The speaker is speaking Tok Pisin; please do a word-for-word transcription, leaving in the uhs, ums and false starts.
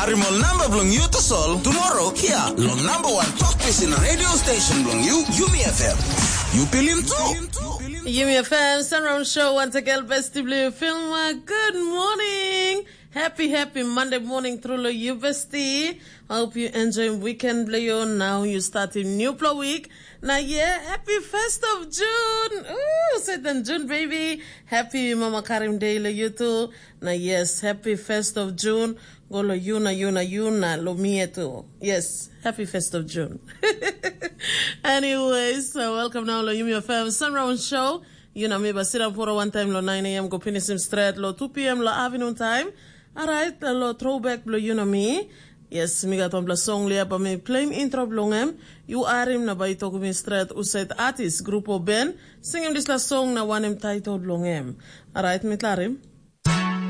Harim ol namba bilong yu tasol tomorrow hia long number one talk pisin radio station bilong yu, Yumi F M. Yu pilim tu. Yumi F M Sunround Show, once again, besti bilong yu, Filma. Good morning. Happy, happy Monday morning through lo you, bestie. I hope you enjoy weekend bilong you. Now you starting new plo week. Na yeah, happy first of June. Ooh, Satan June, baby. Happy Mama Karim Day lo you too. Na yes, happy first of June. Go lo you, na you, na you, na lo me too. Yes, happy first of June. Anyways, uh, welcome now lo Yumi F M Sunround Show. You know me, but sit down for one time lo nine a m go finish him straight lo two p m lo afternoon time. Alright, lo throwback lo you know me. Yes, mi gat wanpela song lia ba mi claim intro bilong em. You arim na bai toku mi straight usaid artist, group o band, singim dispela song na wanem title bilong em. Alright, mi klarim.